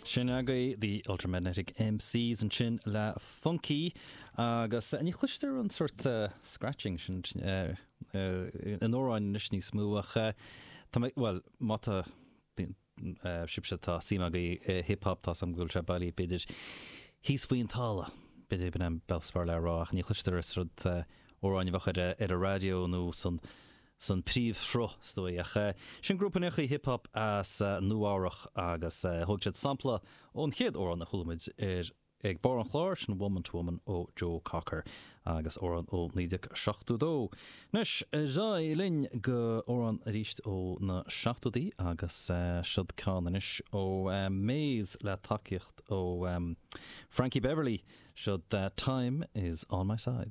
Sin agaibh The Ultramagnetic MCs ansin le Funky agus ní chloistear an sórt scratching sin in amhráin anois níos mó ach tá mé, bhuel, má tá sibhse tá suim agaibh i hip hop tá 's agam go bhfuil sé bailí b'fhéidir thíos faoin talamh, b'fhéidir b'in an bealach is fearr le rá ach ní chloistear an sórt amhráin a bheadh ar an raidió nó san san príomhshruth, is dóigh. Ach sin grúpa nuachaí hip hop as Nua-Eabhrac agus thóg siad sampla ón chéad amhrán a chuala muid ar ag barr an chláir, sin Woman to Woman ó Joe Cocker agus amhrán ó 1972. Anois, ar aghaidh linn go amhrán arís ó na seachtóidí agus siod ceann anois ó Maze le tacaíocht ó Frankie Beverly, siod Time is on my side.